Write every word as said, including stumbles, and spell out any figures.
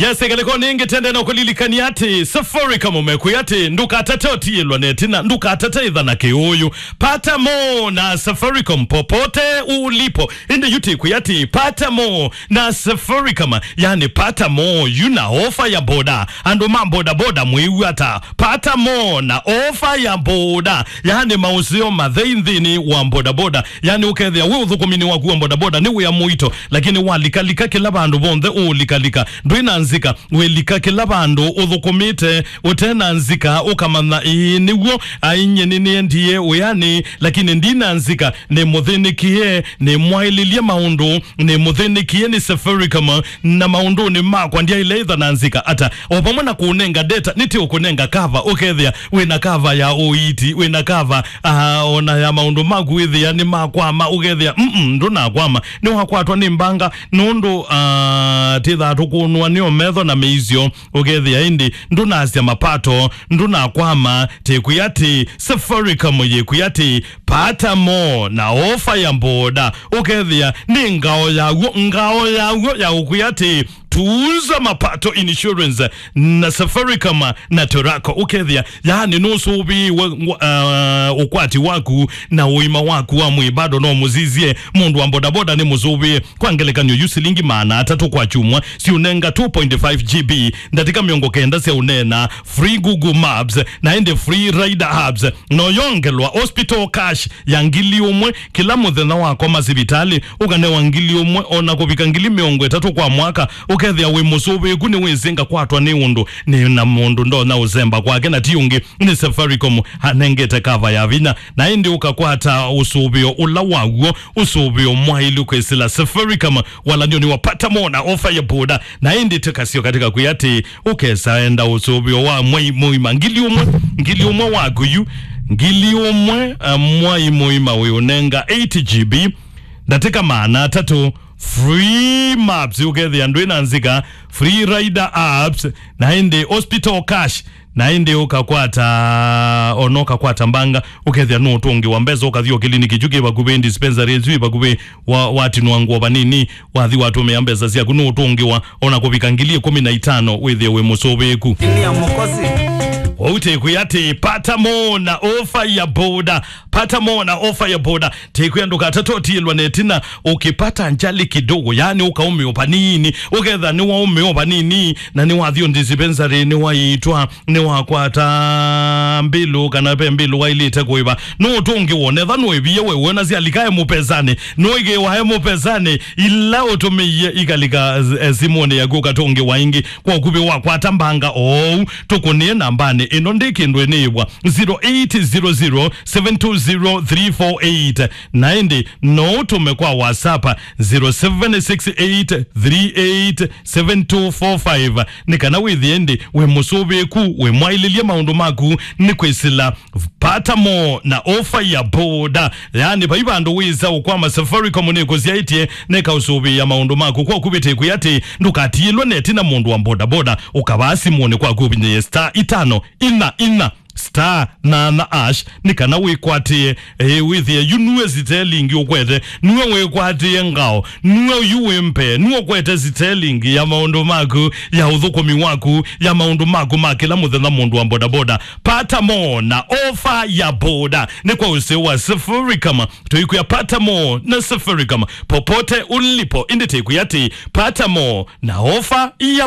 Yes, ngalĩko nĩngĩ tende na kũlilikania atĩ Safaricom mekwĩa atĩ ndũkatate ũtiĩlwa na ĩtina, ndũkatate ĩtha na kĩũyũ. Pata more na Safaricom popote ulipo. Ĩndĩ yu tĩkwĩa atĩ pata more na Safaricom, yani pata more yu na ofa ya boda. Andũ ma bodaboda mwĩw'a ata? Pata more na ofa ya boda, yani maũseo mathei nthĩnĩ wa bodaboda. Yani ũkethĩa wĩ ũthũkũminĩ waku wa bodaboda nĩ wĩa mũito, lakini walikalika kĩla vandũ vonthe ũũlikalika, ndwĩ na nzika, wĩlika kĩla vandũ ũthũkũmĩte ũte na nzika, ũkamanya, ĩĩ nĩw'o, ainyie nĩnĩendie wĩanĩ, lakini ndi na nzika, nĩ mũthĩnĩkie, nĩ mwaĩlĩlye maũndũ, nĩ mũthĩnĩkie nĩ Safaricom, na maũndũnĩ makwa ndyaĩle ĩtha na nzika ata. O vamwe na kũnenga data, nĩtĩ ũkũnenga cover, ũkethĩa wĩna cover ya ũiiti, wĩna cover, ah, ona ya maũndũ maku wĩthĩa nĩ makwama, ũkethĩa, mm, ndũnakwama, nĩwakwatwa nĩ mbanga, nũndũ, ah, tĩthaa tũkũnũanĩo metho na mĩisyo, ũkethĩa ĩndĩ ndũnasya mapato, ndũnakwama, tĩkwĩa atĩ Safaricom yĩkwĩa atĩ pata more na ofa ya boda, ũkethĩa nĩ ngao yaw'o, ngao yaw'o ya ũkwĩa atĩ Tuza Mapato Insurance na Safaricom na Turaco, ũkethĩa, yani, nũsũvĩĩwe, uh, ũkwati waku na ũima waku wa mwĩĩ bado no mũsisye. Mũndũ wa bodaboda nĩ mũsũvĩe. Kwa ngelekany'o, yu silingi maana atatũ kwa kyumwa siũnenga two point five G B, ndatĩka mĩongo kenda sya ũneena, free Google Maps, na ĩndĩ free rider apps. No yongelwa hospital cash ya ngili ũmwe kĩla mũthenya wakoma sivitalĩ, ũkanewa ngili ũmwe ona kũvika ngili mĩongo ĩtatũ kwa mwaka, ũkethĩa wĩ mũsũvĩĩku nĩwĩsĩ ngakwatwa nĩ ũndũ nĩ na mũndũ ndonya ũsemba kwake na ti ũngĩ nĩ Safaricom anengete kava ya vinya, na ĩndĩ ũkakwata ũsũvĩo ũla waw'o, ũsũvĩo mwaĩlu kwĩsĩla Safaricom. Walany'o nĩ wa pata more na ofa ya boda, na ĩndĩ tũkasyoka tũkakwĩa atĩ ũkesa enda ũsũvĩo wa mwai mũima, ngili ũmwe, ngili ũmwe waku yu, ngili ũmwe, uh, mwai mũima wĩ ũnenga eight G B, ndatĩka maana atatũ, free maps, ũkethĩa ndwĩ na nzika, free rider apps, na ĩndĩ hospital cash, na ĩndĩ ũkakwata, ona ũkakwata mbanga, ũkethĩa nũũtũngĩwa mbesa, ũkathi o kĩliniki kyu kĩ vakuvĩ, dispensary ĩsu ĩ vakuvĩ, wa, watinwa ngũa vanini, wathi watũmĩa mbesa syaku, nũũtũngĩwa ona kũvika ngili ĩkũmi na itano wĩthĩe wĩ mũsũvĩĩku. Ini ya Mwokozi. Ũu tĩkwĩa atĩ pata more na ofa ya boda, pata more na ofa ya boda. Tĩkwĩa ndũkatate ũtiĩlwa na ĩtina, ũkĩpata njali kidogo, yani ũkaũmĩwa vanini, ũketha nĩwaũmĩwa vanini, na nĩwathi o dispensary, nĩwaitwa, nĩwakwata mbilu kana ve mbilu wailĩte kũĩva, nũũtũngĩwa. Netha nũĩvie we wona syalika e mũpesanĩ, nũĩkĩwa e mũpesanĩ, ila ũtũmĩie ikalika, eh, simũnĩ yaku ũkatũngĩwa ĩngĩ. Kwa ũkuvĩ wakwata mbanga oou, tũkũnĩe nambanĩ ĩno ndĩ kĩndũ ĩnĩĩvwa, zero eight zero zero seven two zero three four eight. Na ĩndĩ no ũtũme kwa WhatsApp, zero seven six eight three eight seven two four five, nĩ kana wĩthĩe ĩndĩ wĩ mũsũvĩĩku, wĩ mwaĩlĩlye maũndũ maku nĩ kwĩsĩla pata more na ofa ya boda. Yani, vai vandũ wĩsa ũkwama, Safaricom nĩkũsyaĩtye nĩkaũsũvĩĩa maũndũ maku. Kwa ũkuvĩ tĩkwĩa atĩ ndũkatiĩlwe na ĩtina, mũndũ wa bodaboda, ũkavaa simũnĩ kwaku ũvinyĩĩe star itano inya inya star nana hash, nĩ kana wĩkwatĩe, ĩĩ, wĩthĩe yu nue sitelingi ũkwete, nue wĩkwatĩe ngao, nue yu wĩ mbee, nue ũkwete sitelingi ya maũndũ maku, ya ũthũkũmi waku, ya maũndũ maku ma kĩla mũthenya, mũndũ wa bodaboda. Pata more na ofa ya boda. Nĩ kwa ũseo wa Safaricom, tũikwĩa pata more na Safaricom popote ulipo. Ĩndĩ tĩkwĩa atĩ pata more na ofa ya